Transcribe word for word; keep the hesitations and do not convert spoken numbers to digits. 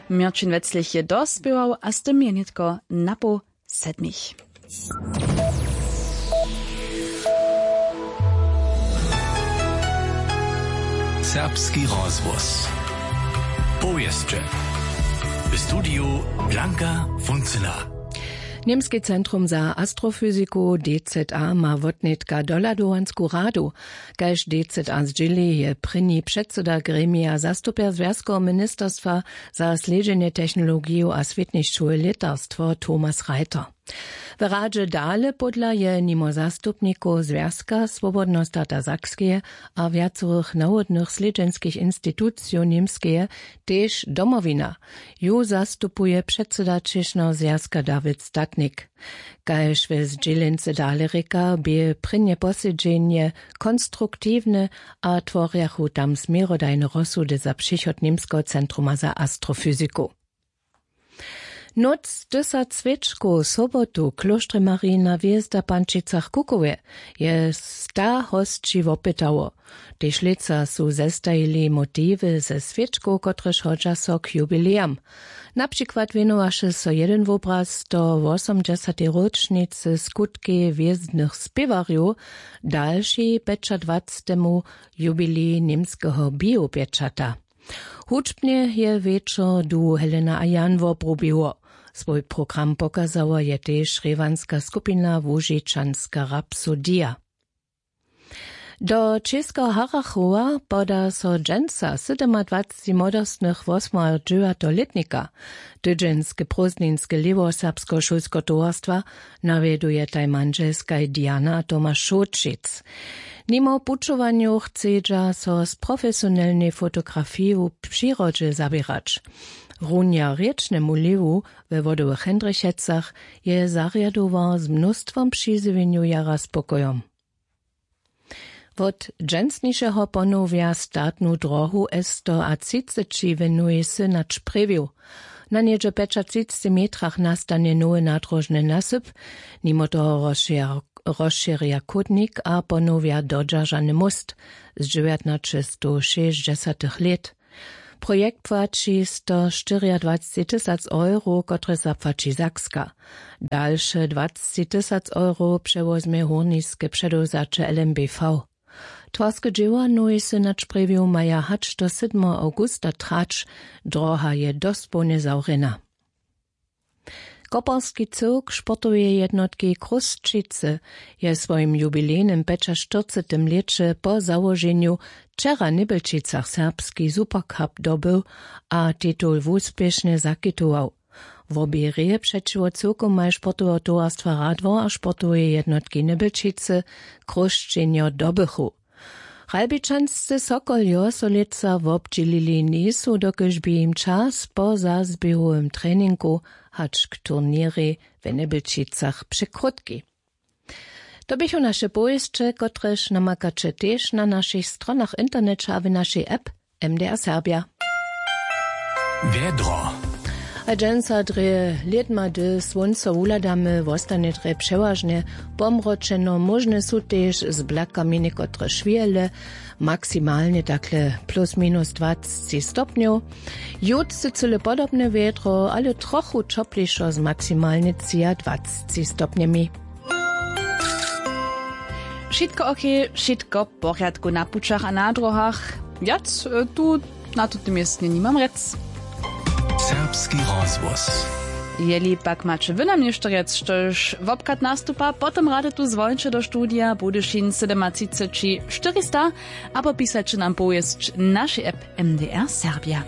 Měrćin weclich je dospěwał a z tym je nětko napoł sedmich. Serbski rozhłos. Powěsće. W studiju Blanka Funcyna. Němski centrum za astrofyziku D Z A ma wotnětka dohladowansku radu. Kaž D Z A zdźěli, je prěni předsyda gremija zastupjer zwjazkoweho ministerstwa za slědźenje technologijow a swětnišćowe lětarstwo Thomas Reiter. W radźe dale pódla je nimo zastupnikow Zwjazka swobodneho stata Sakskeje a wjacorych nawodnych slědźenskich institucijow Němskeje tež Domowina. Ju zastupuje předsyda Čěšneho zwjazka Dawid Statnik. Kaž we zdźělency dale rěka, bě prěnje posedźenje konstruktiwne a tworjachu tam směrodajne rozsudy za přichod Němskeho centruma za astrofyziku. Nóc tysac swěčkow sobotu w klóštrje Marijina hwězda w Pančicach-Kukowje je sta hosći wopytało. Tež lětsa su zestajili motiwy ze swěčkow, kotrež hodźa so k jubilejam. Na přikład wěnowaše so jedyn wobraz sto wosomdźesatej ročnicy skutkej hwězdnych spěwarjow, dalši pjećadwacetemu jubilej němskeho biopječata. Hudźbnje je wječor duhu Helena a Jan wobrubiło. Swój program pokazała je tež rěwanska skupina Łužičanska rapsodija. Do Českeho Harachowa poda so dźensa sydomadwacci młodostnych wosmadźewjateho lětnika. Tydźenske prózdninske lěhwo serbskeho šulskeho towarstwa nawjedujetaj mandźelskaj Diana a Tomaš Šołćic. Nimo pućowanjow chcedźa so z profesionelnej fotografiju w přirodźe zaběrać. Runja rěčnemu lěhwu we Wodowych Hendrichecach je zarjadowar z mnóstwom přizjewjenjow jara spokojom. Wot dźensnišeho ponowja statnu dróhu S sto a třiceći w Nowej Synać prěwił. Na něhdźe pjećatřicci metrach nastanje nowy nadróžny nasyp. Nimo toho rozšěr-, rozšěrja chódnik a ponowja dodźeržany móst z dźewjatnaćestowšěsćdźesatych lět. Projekt płaći stoštyriadwacci tysac euro, kotrež zapłaći Sakska. Dalše dwacci tysac euro přewozmje hórniske předewzaće L M B V. Twarske dźěła Nowej Synać prěwił maja hač do sydmeho awgusta trać. Dróha je dospołnje zawrjena. Koperski cyłk sportoweje jednotki Chrósćicy je w swojim jubilejnym pjećaštyrcetym lěće po załoženju wčera w Njebjelčicach serbski Supercup dobył a titul wuspěšnje zakitował. Wobě hrě přećiwo cyłkowmaj sportoweho towarstwa Radwor a sportoweje jednotki Njebjelčicy Chrósćenjo dobychu. Ralbičanscy Sokoljo so lětsa wobdźělili njejsu, dokelž bě jim čas po zazběhowym treninku hač k turněrej w Njebjelčicach překrótki. To běchu naše powěsće, kotrež namakaće tež na našich stronach w interneće a w našej app M D R Serbja. Wjedro. A dźensa drje lědma, hdy słónco wuhladamy, wostanje drje přewažnje pomročeno, móžne su tež z blakami někotre šwěhle, maksimalnje takle plus minus dwacci stopnjow. Jutře cyle podobne wjedro, ale trochu ćoplišo z maksimalnje třiadwacci stopnjemi. Wšitko ok, wšitko w porjadku na pućach a na dróhach. Wjac, e, tu na tutym městnje nimam rjec. Serbski rozhłos. Jeli pak maće wy nam něšto rjec, štož wobchad nastupa, potom rady tu zwolńće do studija Budyšin sydomatřiceći štyrista abo pisaće nam powěsć w našej app M D R Serbia.